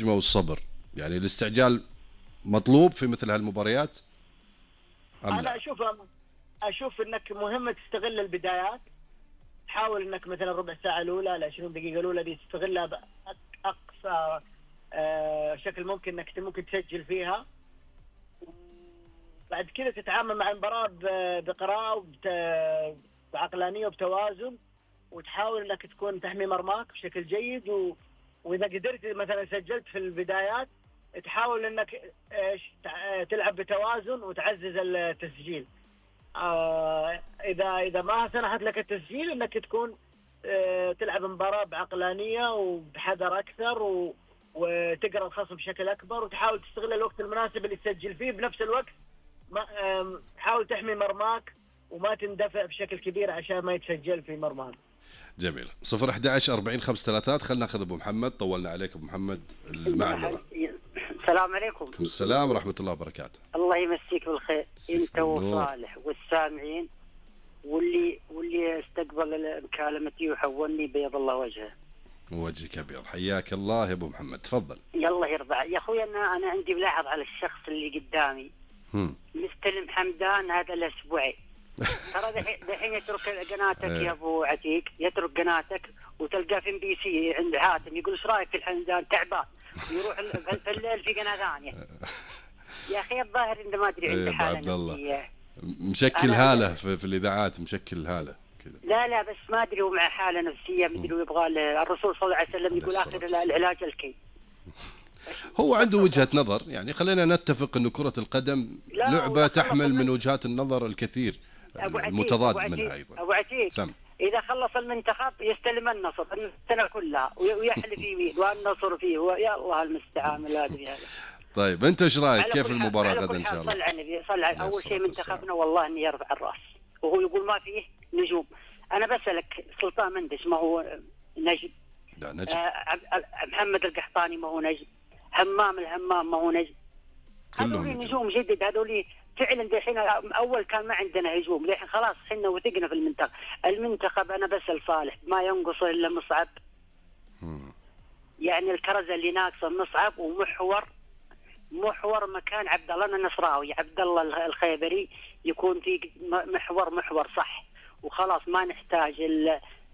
والصبر، يعني الاستعجال مطلوب في مثل هالمباريات أم لا؟ انا اشوف انك مهم تستغل البدايات. حاول انك مثلا ربع ساعه الاولى ل 20 دقيقه الاولى دي تستغلها باقصى شكل ممكن، انك ممكن تسجل فيها. بعد كذا تتعامل مع المباراه بقراءه بعقلانيه وبتوازن، وتحاول انك تكون تحمي مرماك بشكل جيد. واذا قدرت مثلا سجلت في البدايات، تحاول انك تلعب بتوازن وتعزز التسجيل. اذا ما سنحت لك التسجيل، انك تكون تلعب مباراة بعقلانية وبحذر اكثر، وتقرا الخصم بشكل اكبر، وتحاول تستغل الوقت المناسب اللي تسجل فيه. بنفس الوقت حاول تحمي مرماك وما تندفع بشكل كبير عشان ما يتسجل في مرماك. جميل. 011 40 533. خلنا ناخذ ابو محمد. طولنا عليك ابو محمد. المعذرة. السلام عليكم. السلام ورحمة الله وبركاته. الله يمسيك بالخير انت وصالح والسامعين واللي استقبل مكالمتي وحولني، بيض الله وجهه. وجهك ابيض. حياك الله يا ابو محمد، تفضل. يلا يرضى يا اخوي. انا عندي ملاحظ على الشخص اللي قدامي. مستلم حمدان هذا الاسبوعين. ترى دحين يترك قناتك يا ابو عتيق، يترك قناتك وتلقاه في MBC عند حاتم يقول ايش رايك في الحمدان؟ تعبان. يروح في الليل في قناه ثانيه. يا اخي الظاهر انه ما ادري عنده حاله نفسيه. مشكل هاله في الاذاعات، مشكل هاله كذا. لا بس ما ادري، هو مع حاله نفسيه مدري، ويبغى الرسول صلى الله عليه وسلم يقول اخر العلاج الكي. هو عنده وجهة نظر، يعني خلينا نتفق انه كرة القدم لعبة تحمل من وجهات النظر الكثير المتضاد منها ايضا. ابو عتيق اذا خلص المنتخب يستلم النصر السنة كلها ويحلف يمين والنصر فيه، يا الله المستعان. لا ادري هذا. طيب انت ايش رايك؟ كيف المباراة غدا ان شاء الله؟ صل على النبي، صل على اول شيء منتخبنا والله اني يرفع الراس، وهو يقول ما فيه نجوم. انا بسألك سلطان مندش ما هو نجم؟ لا نجم. محمد القحطاني ما هو نجم؟ الهمام ما هو نجم؟ هذول نجوم جدد، هذول فعلا. دحين اول كان ما عندنا هجوم، الحين خلاص حنا وثقنا في المنتخب. انا بسأل صالح ما ينقص الا مصعب. يعني الكرزه اللي ناقصه مصعب ومحور مكان عبد الله النصراوي، عبد الله الخيبري يكون في محور صح، وخلاص ما نحتاج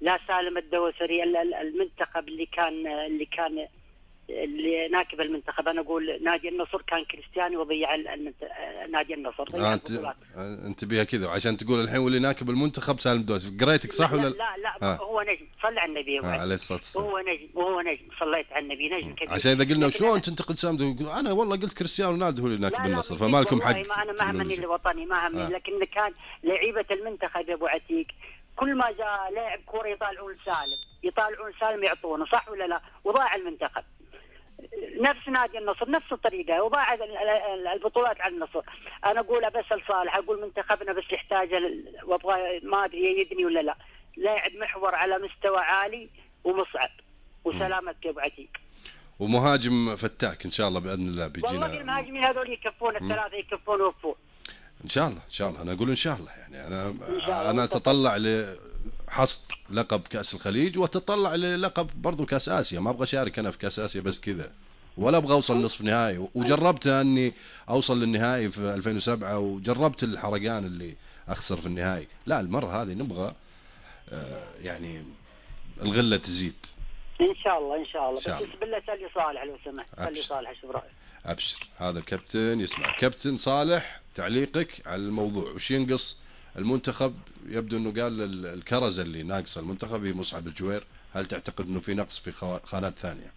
لا سالم الدوسري. المنتخب اللي ناكب المنتخب، انا اقول نادي النصر كان كريستيانو وضيع نادي النصر. انت بيها كذا عشان تقول الحين واللي ناكب المنتخب سالم الدوسري. قريتك صح ولا لا هو نجم. صلى على النبي عليه الصلاه والسلام. هو نجم صليت على النبي، نجم كبير. عشان اذا قلنا شلون تنتقد سالم يقول انا والله قلت كريستيانو رونالدو هو اللي ناكب النصر، فما لكم حق. ما انا ما همني الوطني، ما همني. لكن كان لعيبه المنتخب يا ابو عتيق كل ما جاء لاعب كوره يطالعون سالم يعطونه، صح ولا لا؟ وضاع المنتخب. نفس نادي النصر نفس الطريقة، وضاع البطولات على النصر. أنا أقول بسأل صالح، أقول منتخبنا بس يحتاج وابغى ما أدري يدني ولا لا، لاعب محور على مستوى عالي ومصعب وسلامتك يا أبو عتيق، ومهاجم فتاك إن شاء الله بإذن الله بيجينا. والله المهاجمين هذول يكفون الثلاثة، يكفون ويوفون إن شاء الله. أنا أقول إن شاء الله، يعني أنا أتطلع حصد لقب كأس الخليج، وتطلع للقب برضو كأس آسيا. ما أبغى أشارك أنا في كأس آسيا بس كذا، ولا أبغى أوصل نصف نهائي. وجربت أني أوصل للنهائي في 2007، وجربت الحرقان اللي أخسر في النهائي. لا المرة هذه نبغى يعني الغلة تزيد إن شاء الله. بس بالله سألي صالح لو سمحت، سألي صالح شو رأيك. أبشر، هذا الكابتن يسمع. كابتن صالح تعليقك على الموضوع، وش ينقص المنتخب؟ يبدو انه قال الكرزة اللي ناقصه المنتخب هي مصعب الجوير. هل تعتقد انه في نقص في خانات ثانية؟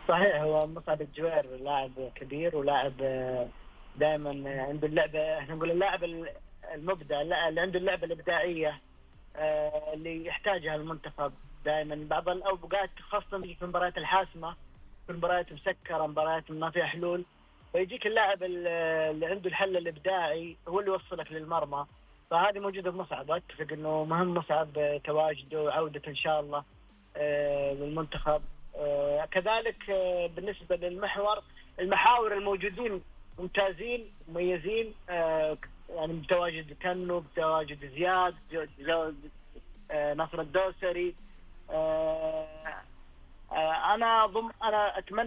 صحيح، هو مصعب الجوير لاعب كبير ولاعب دائما عنده اللعبة، احنا نقول اللاعب المبدع، اللي عنده اللعبة الإبداعية اللي يحتاجها المنتخب دائما. بعض الأوقات خاصة في المباريات الحاسمة، في المباريات مسكرة، مباريات ما فيها حلول، فيجيك اللاعب اللي عنده الحل الإبداعي هو اللي يوصلك للمرمى. فهذه موجودة بمصعب، أتفق إنه مهم مصعب تواجده وعودته إن شاء الله للمنتخب. كذلك بالنسبة المحاور الموجودين ممتازين مميزين، يعني بتواجد كنو، بتواجد زياد، نصر الدوسري. أنا أتمنى